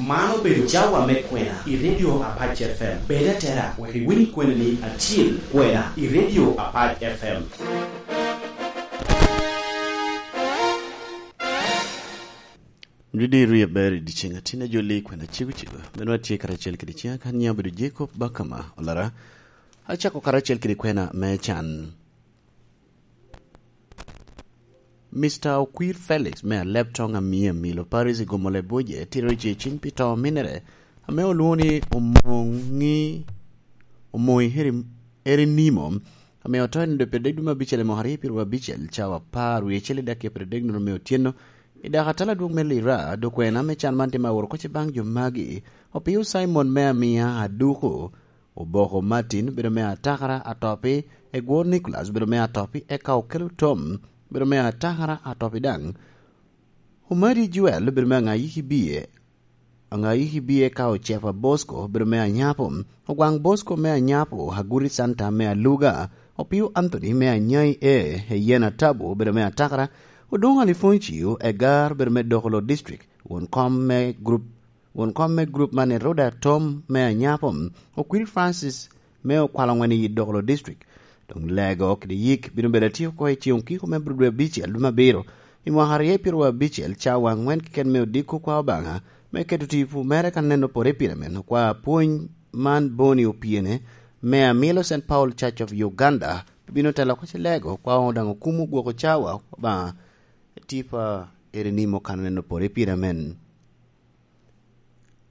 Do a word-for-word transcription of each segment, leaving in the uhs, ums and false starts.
Man obedo cawa me kwena i Radio Apac F M. Bed atera, wek iwiny kwena ni acil kwena i Radio Apac F M. Dudi ru aber i dyeceŋ atin a jolli kwena cego cego. Meno atye karacel kede ciŋa kan nyiŋa obedo Jacob Bakama Olara. Acako karacel kede kwena me can. Mister Okwir Felix me Aleptong Amia Milo Paris i Gomole Buje tito ceciny pi to minere ame olwoŋo ni Omoŋi, Omoŋi Eri-, Erinimo, ame oto i nino pyerdek dwe me abicel i mwaka aryo pyeraryo abicel, cawa apar wie acel i dakika pyerdek nono me otyeno, i dako atala adwoŋ me Lira. Dok kwena me can man tye ma aworo kocce baŋ jo magi: Opio Simon me Amia Aduku, Oboko Martin obedo me Atakara Atopi, Egwor Nicholas obedo me Atopi, eka Okelo Tom obedo me Atakara Atopi daŋ. Omadi Joel obedo me Aŋayiki Bie, Aŋayiki Bie, eka Ocepa Bosco obedo me Anyapo, Ogwaŋ Bosco me Anyapo, Aguri Santa me Aluga, Opio Anthony me Anyai E, Eyen Atabu obedo me Atakara, Odoŋo Alifoncio Egar obedo me Dokolo District, won kom me grup Won kom me grup man, Eroda Tom me Anyapo, Okwiri Francis me Okwalo Ŋwen i Dokolo District. Doŋ lego kede yik bino bedo atye oko i ceŋ okiko me dwe abicel dwe me abiro i mwaka aryo pyeraryo abicel, cawa aŋwen keken me odiko kwa Obaŋa me keto tipo mere ka neno pore pire men. Okwa apwony man Boni Opiene me Amilo Saint Paul Church of Uganda bino telo oko ci lego kwa daŋ okumo gwoko cawa Obaŋa tipo eri nimo ka neno pore pire men.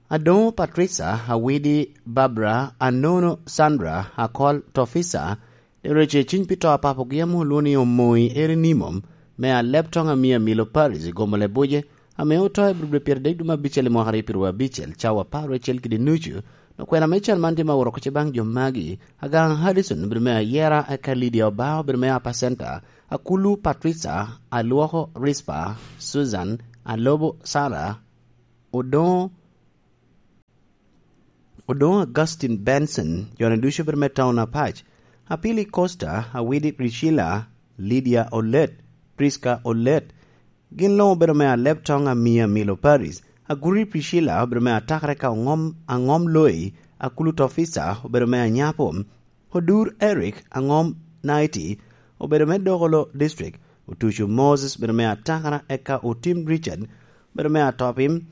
Adoŋo Patricia, Awidi Barbara, Anono Sandra, Akol Tofisa, de rece cwiny pi to a papogi ame olwoŋo ni Omoi Erinimo, me Aleptong Amia Milo Paris i Gomole Buje, ame oto i dwe pyeradek dwe me abicel i mwaka aryo pyeraryo abicel, cawa apar wie acel kede nucu. Dok kwena me can man tye ma oworo kocce baŋ jo magi: Agaŋ Harrison obedo me Ayera, eka Lydia Obao obedo me Upper Center, Akulu Patricia, Alwoko Rispa, Susan, Alobo Sarah, Odoŋo, Odoŋo Augustine Benson, jone ducu obedo me Town Apac, Apili Costa, Awidi Priscilla, Lydia Olet, Prisca Olet, gin luŋ obedo me Aleptong Amia Milo Paris, Aguri Priscilla obedo me Atakare ka Oŋom, Aŋom Loi, Akulu Tofisa obedo me Anyapo, Odur Eric Aŋom Naiti obedo me Dokolo District, Otuco Moses obedo me Atakara, eka Otim Richard obedo me Atopim,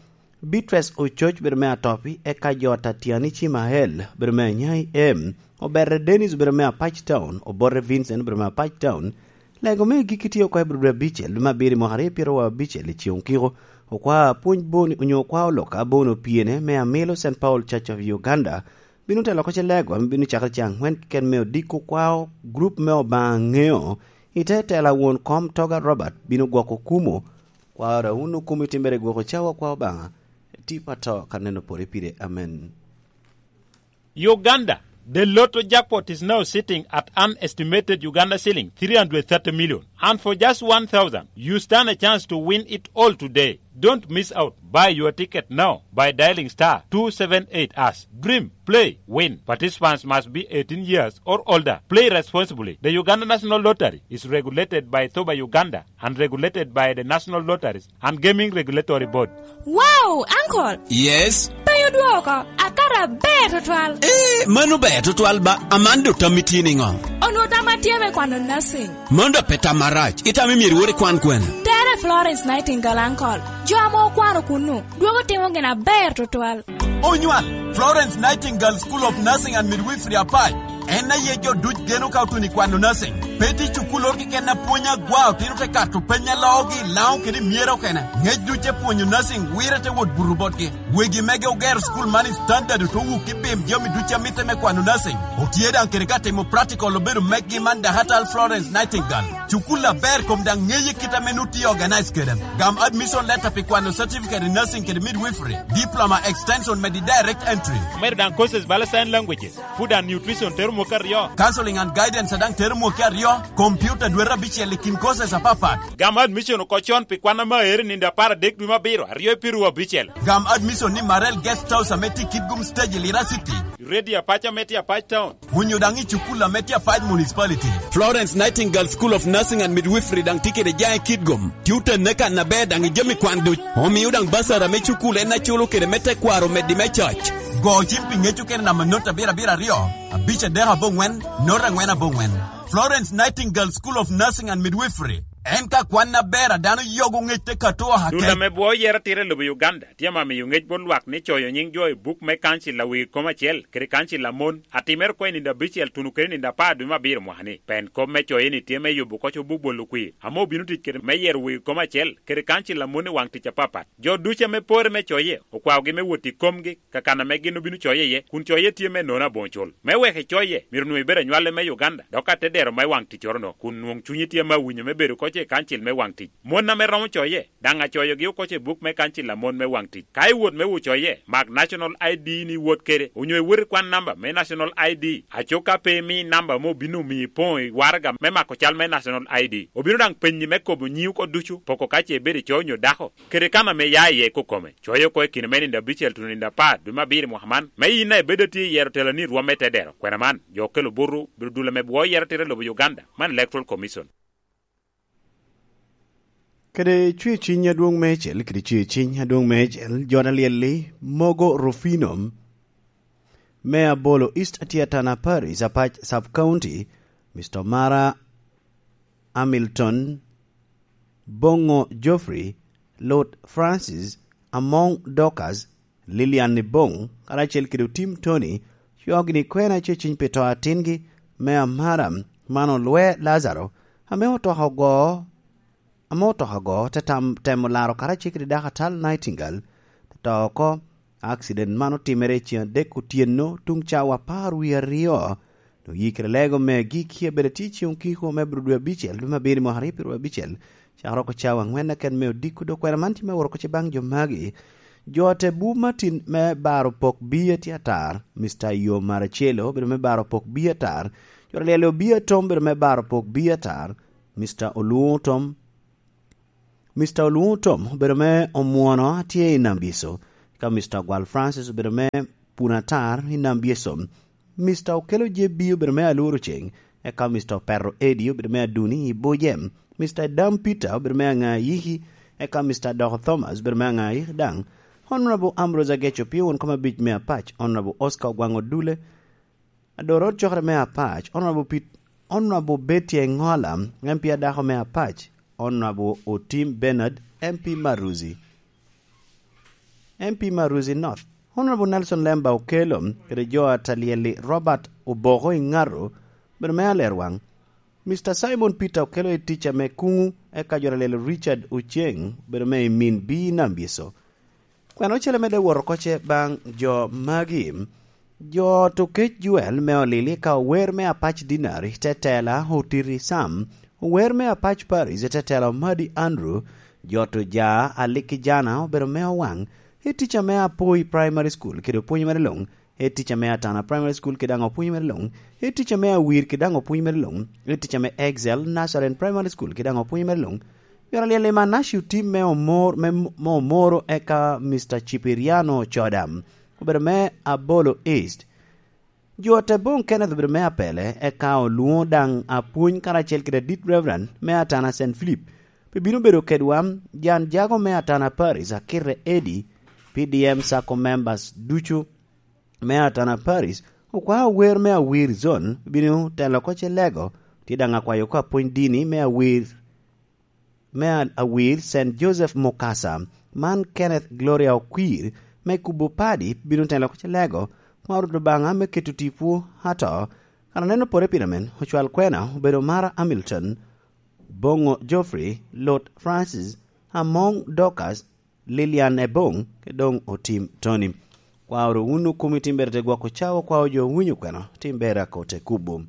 Beatrice Ococ obedo me Atopi, eka jo Tatiani Cimael obedo me Anyai Em, Obere Dennis obedo me Apac Town, Obote Vincent obedo me Apac Town. Lego me agikki tye oko i dwe abicel dwe me abiro i mwaka aryo pyeraryo abicel i ceŋ okiko. Okwa apwony Boni onyo okwa oloka Boni Opiene me Amilo Saint Paul Church of Uganda bino telo oko ci lego ame bino cakere caŋ aŋwen keken me odiko kwao grup me Obaŋa Ŋeo, i te tela won kom Toga Robert bino gwoko kumo. Kwaro wun okumo i timmere gwoko cawa kwa Obaŋa, tipo ato ka neno pore pire. Amen. Uganda, the lotto jackpot is now sitting at an estimated Uganda shilling three hundred thirty million. And for just one thousand, you stand a chance to win it all today. Don't miss out. Buy your ticket now by dialing star two seven eight hash. Dream, play, win. Participants must be eighteen years or older. Play responsibly. The Uganda National Lottery is regulated by Thoba Uganda and regulated by the National Lotteries and Gaming Regulatory Board. Wow, uncle! Yes? Pe odwoko, akato aber tutwal. Eh, mano ber tutwal ba, aman do tammi tye niŋo? Onwo tamma tye me kwano nursing. Mano dok pe tam marac, itamo myero iwor ikwan kwene? Tere Florence Nightingale, uncle. Jo ame okwano kunnu, dwogo timo gin aber tutwal. Onywal, Florence Nightingale School of Nursing and Midwifery Apac. En aye jo duc geno ka otuno i kwano nursing. Pe tye cukulloro keken a pwonyo agwa otino te kato peny a loogi i Laŋo kede i Myero okene. Ngec duc te pwonyo nursing wire te wot buto botgi. Wegi mege ogero cukul man i standard, ote wuk i pim jami duc a mitte me kwano nursing. Otye daŋ kede ka timo practical obedo meggi man Dahatal Florence Nightingale. Cukul aber kom daŋ ŋeye kit ame nut tye organize kede. Gam admission letter pi kwano certificate in nursing kede midwifery, diploma extension medi direct entry. Omedo daŋ courses bala sign languages, food and nutrition tero mwaka aryo. Counseling and guidance a daŋ tero mwaka aryo. Computer dwe abicel i kin courses apapat. Gam admission oko con pi kwan ame aere nino apar adek dwe me abiro, aryo i piru abicel. Gam admission ni Marel Guest House ame tye i Kitgum Stage i Lira City. Radio Apac ame tye Apac Town. Onyo daŋ i cukul ame tye Apac Municipality. Florence Nightingale School of Nursing and Midwifery daŋ tye kede jaŋ i Kitgum. Tye oteggi kan aber daŋ i jami kwan duc. Omio daŋ basara me cukul en aculo kede me tekwaro omeddi me coc. Go cim pi ŋec okene namba not abiro abiro aryo, abic adek aboŋwen, not angwen aboŋwen. Florence Nightingale School of Nursing and Midwifery. En ka kwan aber a dano yogo ŋec te kato aka. Dul ame bwo yero tira i lobo Uganda tye ame miyo ŋec bot lwak ni coyo nyiŋ jo i buk me kancil a wegi kom acel kede kancil a mon a timere oko i nino abicel tuno kede nino apar dwe me abiro mwaka-ni. Pen kop me coye-ni tye me yubo koc obuk bolo kwir ame obino tic kede me yero wegi kom acel kede kancil a mon i waŋ tic apapat. Jo ducu ame pore me coye okwaogi me wot i komgi ka kan ame gin obino coye iye, kun coye tye me nono aboŋo cul. Me wek ecoye, myero onwoŋo ibed anywale me Uganda, dok atedero me waŋ ticcoro-no, kun nwoŋo cunyi tye me awinyo me bedo koc i kancil me waŋ tic. Mon ame romo coye, daŋ acoyogi oko i buk me kancil a mon me waŋ tic. Ka iwot me wot coye, mak National I D ni iwot kede, onyo iwot ikwan namba me National I D, aco ka pe imi namba ame obino omiyo ipoŋo i waraga me mako cal me National I D. Obino daŋ penyi me kobo nyiŋi oko ducu, poko ka ce ibedo i co onyo dako, kede kan ame ya iye i kokome. Coye oko i kine me nino abicel tuno nino apar dwe me abiro i mwaka man, me yin a ibedo atye i yero teloni i rwom me tedero. Kwena man, jo okelo buto, bedo dul ame bwo yero tira i lobo Uganda, man Electoral Commission. Kede cwer ciny adwoŋ meicel, kede cwer ciny adwoŋ meicel, jo na lyelli mogo Rufino me Abolo East Atiatana Parish, Apac Sub County, Mister Mara Hamilton, Boŋo Geoffrey, Lord Francis, Amoŋ Dorcas, Lilian Iboŋ, karacel kede Otim Tony, cweo gini kwena ceciny pi to atingi me amara man olwe Lazaro, ame otoka ogo, ame otoka ogo te tam, temo laro karacel kede dako atal Nightingale, te to oko. Akcident man otimere i ceŋ adek otyeno tuŋ cawa apar wie aryo. Doŋ yikere lego me agikki abedo atye i ceŋ okiko me bro dwe abicel, dwe me abiro i mwaka aryo pyeru abicel, cakere oko cawa angwen keken me odiko. Dok kwena man tye me woro oko ce baŋ jo magi. Jo a te bu Martin me baro pok bi atye atar, Mister Yo Maracelo obedo me baro pok bi atar, jo a lyel Obia Tom obedo me baro pok bi atar, Mister Oluŋo Tom, Mister Oluŋo Tom obedo me Omwono atye i Nambiso, eka Mister Gwal Francis obedo me Punatar i Nambiso, Mister Okelo J B obedo me Alworo Ceŋ, eka Mister Opero Eddie obedo me Aduni i Bujem, Mister Dam Peter obedo me Aŋayiki, eka Mister Doko Thomas obedo me Aŋayiki daŋ. Honorable Ambrose Ageco pien won kom abic me Apac, Honorable Oscar Ogwaŋ Odule, Adoro cokere me Apac, Honorable Pit-, Honorable Betty Engola, M P adako me Apac, Honorable Otim Bernard, M P Maruzi, M P Maruzi North, Honorable Nelson Lemba Okelo, kede jo a Talyeli Robert Oboko Ingaro, bedo me Alerwaŋ, Mister Simon Peter Okelo i tic ame kuŋu, eka jo Talyeli Richard Oceng, bedo me i min bi Nambieso. Kwena ocele medde wot oko ce baŋ jo magi? Jo Tokec Joel me Olili ka ower me Apac Dinari, tetela Otiti Sam, ower me Apac Paris, tetela Omadi Andrew, jo Toja Aliki Jana obedo me Owaŋ, i tic ame Apoi Primary School kede opwony mere luŋ, i tic ame Atana Primary School kede daŋ opwony mere luŋ, i tic ame Awir kede daŋ opwony mere luŋ, i tic ame Excel Nazarene Primary School kede daŋ opwony mere luŋ, Myero alyel i Manaci otim me omor, me, me omoro, eka Mister Cipiriano Coda obedo me Abolo East. Jo te boŋ Kenneth obedo me Apele, eka olwoŋo daŋ apwony karacel kede adit Reverend me Atana Saint Philip. Pi bino bedo kedwa, jan jago me Atana Paris, Akite Eddie, P D M Sacco members ducu me Atana Paris, okwao wer me Awir Zone, bino telo oko ce lego, tye daŋ akwayo oko apwony dini me Awir me a-, Awir Saint Joseph Mukasa, man Kenneth Gloria Okwir, me kubo padi bino telo oko ce lego, kwaro Rwot Obaŋa me keto tipo ato. Kan aneno pore pire men, ocwal kwena, obedo Mara Hamilton, Boŋo Geoffrey, Lot Francis, Amoŋ Dorcas, Lilian Eboŋ, ke doŋ Otim Tony. Kwaro wun okomi timbere te gwoko cawa, kwao jo owinyo kwena, timbere akote kubo.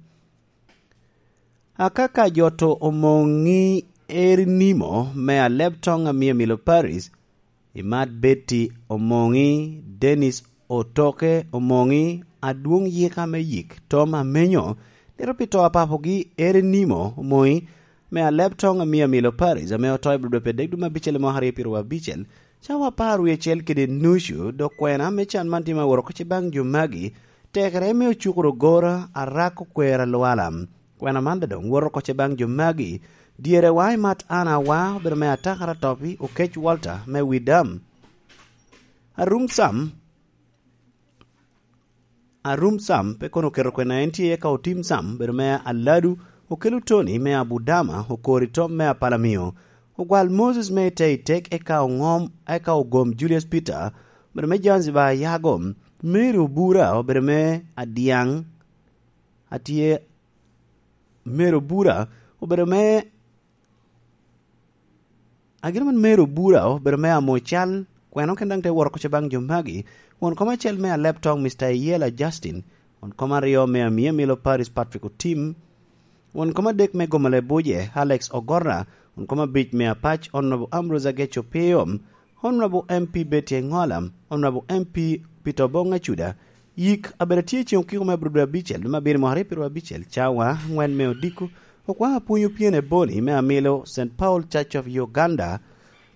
Akaka joto Omoŋi Eri Nimo me Aleb Toŋ Amia Milo Paris, Imat Betty Omoŋi, Dennis Otoke Omoŋi, Adwoŋ Yika me Yik, Tom Amenyo, Liro pi to a papogi Ere Nimo Moŋi, me Alebtoŋ Amia Milo Paris, ame oto i Bulodope dek dwe me abicel i mwaka aryo pyeru abicel, cawa apar wie acel kede nucu, dok kwena me can man tye ma woro oko ce baŋ jo magi, tekere me ocukoro gora, arak, okwero, alwala. Kwena man doŋ woro oko ce baŋ jo magi, dyere wa i mat an awa, obedo me Atakara Topi, Okec Walter, me Widam. Arum Sam, Arum Sam, pe kono oketo kwena en tye, eka Otim Sam, obedo me Aladu, Okelo Tony, me Abudama, Okori Tom, me Apalamio, Ogwal Moses, me Iteitek, eka Oŋom, eka Ogom Julius Peter, obedo me Zanzibar Ayago, Mary Obura, obedo me Adiaŋ, atye, Mary Obura, obedo me Agin man Mary Obura obedo me amo cal, kweno ken daŋ te woro oko ce baŋ jo magi, won kom acel me Alebtoŋ, Mister Iyela Justin, won kom aryo me Amia Milo Paris Patrick Otim, won kom adek me Gomole Buje Alex Ogorra, won kom abic me Apac Honorable Ambrose Ageco Pio, Honorable M P Betty Engola, Honorable M P Peter Obong Acuda, Yik abedo tye i ceŋ okiko me Abril dwe abicel, dwe me abiro mwaka aryo pyeru abicel, cawa aŋwen me odiko, okwa apwony opyene boni me amilo Saint Paul Church of Uganda,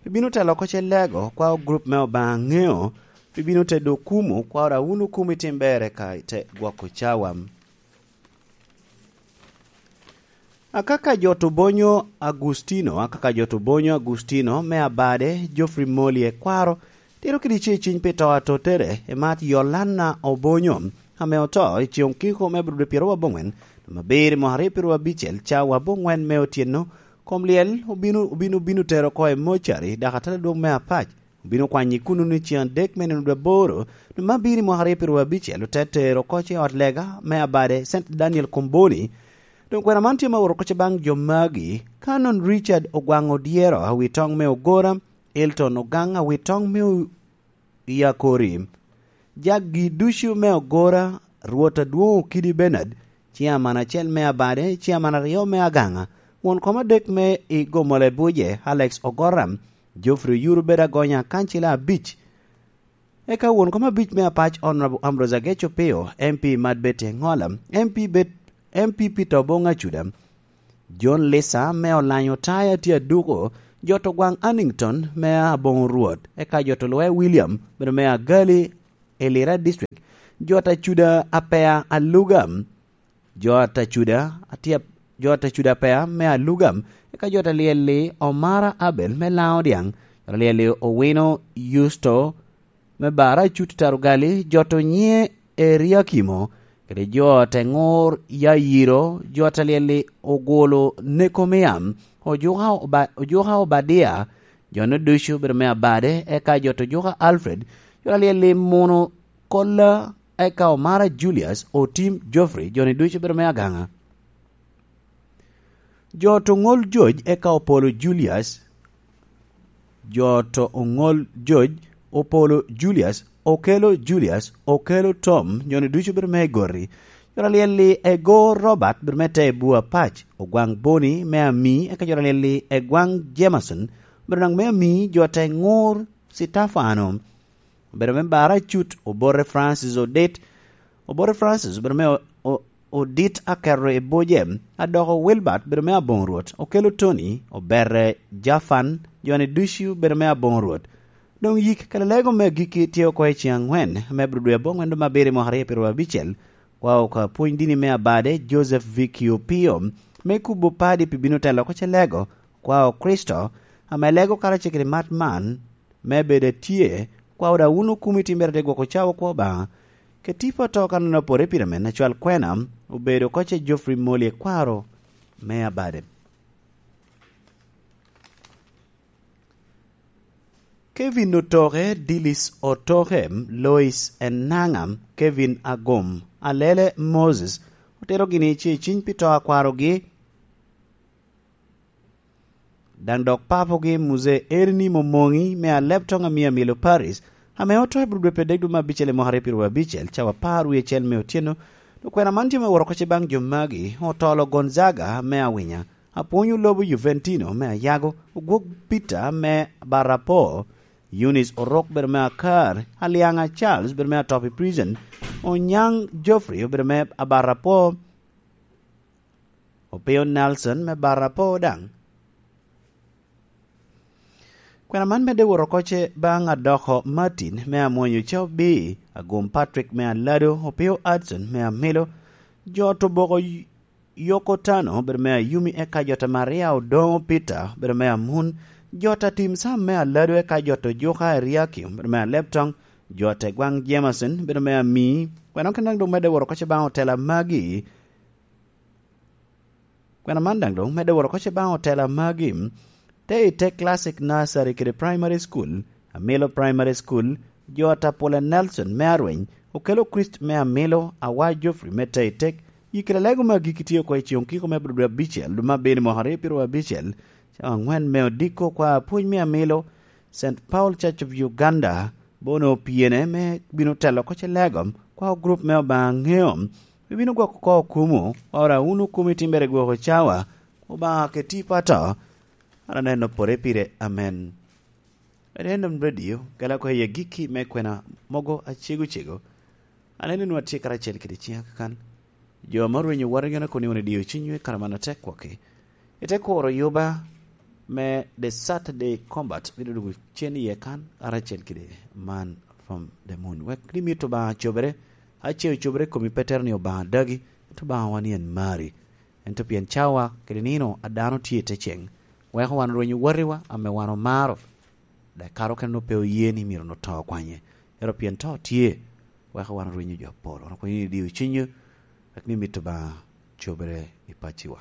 pi bino telo oko ce lego, kwa grup me Obaŋa ŋeo, pi bino tedo okumu, kwa ora wun okumu itim berre ka ite gwoko cawa. Akaka Jot Obonyo Agustino, Akaka Jot Obonyo Agustino me Abade, Geoffrey Moli Ekwaro, tito kede ce ciny pi to atotere, emat Yolana Obonyo, ame oto i ceŋ okiko me Abril dwe pyeru aboŋwen, dwe me abiro mwaka aryo pyeru abicel, cawa aboŋwen me otyeno, kom lyel obino, obino, obino tero oko i mocari, dok atala dwong me Apac, obino kwanyo i kuno ni ceŋ adek me nino dwe aboro, dwe me abiro i mwaka aryo pyeru abicel, ote tero oko ce i ot lega me Abade, Saint Daniel Komboni. Doŋ kwena man tye ma woro oko ce baŋ jo magi, Canon Richard Ogwaŋ Odyero, Awitoŋ me Ogora, Elton Ogaŋ, Awitoŋ me O-, Yakori, jagi ducu me Ogora, Rwot Adwoŋ Okidi Bernard, ciaman acel me Abade, ciaman aryo me Agaŋa, won kom adek me i Gomole Buje, Alex Ogora, Geoffrey Oyuru bedo agonya, kancila abic, eka won kom abic me Apac Honorable Ambrose Ageco Pio, M P Mad Betty Engola, M P Bet-, M P Peter Obong Acuda, John Lisa me Olanyo Taya tye aduko, Jot Ogwaŋ Annington me Aboŋo Rwot, eka Jot Olwe William, bedo me Agali, Elira District, Jot Acuda Apea Aluga, Jot Acuda atye, Jot Acuda Apea me Aluga, eka Jot Alyel-li Omara Abel me Laŋo Dyaŋ, Jot Alyel-li Owino Yusto me Bara Acut Tarugali, Jot Onyiŋe Eriakimo, kede Jot Eŋur Yayiro, Jot Alyel-li Ogulu Nekomiam, Ojuka Oba-, Ojuka Obadia, jo-nu ducu obedo me Abade, eka Jot Ojuka Alfred, Jot Alyel-li Munu Kolla, eka Omara Julius, Otim Geoffrey, jo-ni ducu obedo me Agaŋa. Jot Oŋol Joj, eka Opolo Julius, Jot Oŋol Joj, Opolo Julius, Okelo Julius, Okelo Tom, jo-ni ducu obedo me Egoti. Jot Alyel-li Ego Robert, obedo me Tebua Pac, Ogwaŋ Boni me Ami, eka Jot Alyel-li Egwaŋ Jameson, obedo daŋ me Ami, Jot Eŋur Citafano, obedo me Bara Cut, Obote Francis Odit, Obote Francis obedo me O-, O-, Odit Aketo i Buje, Adoko Wilbert obedo me Aboŋo Rwot, Okelo Tony, Obere Jafan, jo-ni ducu obedo me Aboŋo Rwot. Doŋ yik kede lego me agikki tye oko i ceŋ aŋwen me Abril dwe aboŋwen dwe me abiro i mwaka aryo pyeru abicel, kwa oko apwony dini me Abade, Joseph Vicky Opio, me kubo padi pi bino telo oko ce lego, kwa o Kricito, ame lego karacel kede mat man, me bedo atye, kwa oda wun okumi timbere te gwoko cawa kwo Obaŋa. Ke tipo ato kan opoto i pire men, acwal kwena obedo oko ce Geoffrey Moli Ekwaro me Abade. Kevin Otoke, Dilis Otoke, Lois Enanga, Kevin Agom, Alele Moses, otero gini ce ciny pi to akwarogi. Daŋ dok papogi Muzee Erinimo Moŋi me Alebtoŋ Amia Milo Paris, ame oto i Abril dwe pyeradek dwe me abicel i mwaka aryo pyeru abicel, cawa apar wie acel me otyeno, dok kwena man tye me woro oko ce baŋ jo magi, Otolo Gonzaga me Awinya, Apwony Olobo Juventino me Ayago, Ogwok Peter me Barapo, Eunice Orok bedo me Akar, Aliaŋa Charles bedo me Atopi Prison, Onyaŋ Geoffrey obedo me Abarapo, Opio Nelson me Barapo daŋ. Kwena man medde wot oko ce baŋ Adoko Martin me Amwonyo Cobi, Agum Patrick me Alado, Opio Adson me Amilo, jo Toboko Yoko Tano, bedo me Ayumi, eka jo ta Maria Odoŋo Peter, bedo me Amun, jo ta Tim Sam me Alado, eka jo ta Ojuka Eriakim, bedo me Aleptoŋ, jo ta Egwaŋ Jameson, bedo me Ami. Kwena kene daŋ doŋ medde wot oko ce baŋ otela magi. Kwena man daŋ doŋ medde wot oko ce baŋ otela magi. Te i te Classic Nursery kede Primary School, Amilo Primary School, jo ta Pule Nelson me Arweny, Okelo Christ me Amilo, Awa Geoffrey me Teitek, i kela lego me agikki tye oko i Ciŋ Okiko me dwe abicel, dwe me abino mwaka aryo pyeraryo abicel, cawa aŋwen me odiko kwa apwony me Amilo, Saint Paul Church of Uganda, bono opyene me bino telo oko ce lego, kwa gurup me Obaŋa Ŋeo, bibino gwoko oko okumu, ora wunu okumu i timbere gwoko cawa, Obaŋa ke tipo ato, an aneno pore pire, amen. Random Radio, gala ko i agikki me kwena mogo acego cego. Aneno ni watye karacel kede ciŋa kakan. Jo ame orwenyo waraga kono ni won idio cunywu i kare man atek kwaki. Ite kuro yuba me The Saturday Combat, bino dwogo cen iye kan, karacel kede Man from the Moon. Wek ni mito Obaŋa cobere, ace ocobere i komi Petero ni Obaŋa dagi, ento Obaŋa wan yen mari. Ento pien cawa kede nino a dano tye i te ceŋ, weko wan orwenyo watiwa ame wan omaro, dok kare okene onwoŋo pe oye ni myero onwoŋo to okwanye. Ento pien to tye, weko wan orwenyo jo apol. Wan okwenyo ni idio cunywu, wek ni mito Obaŋa cobere i paciwa.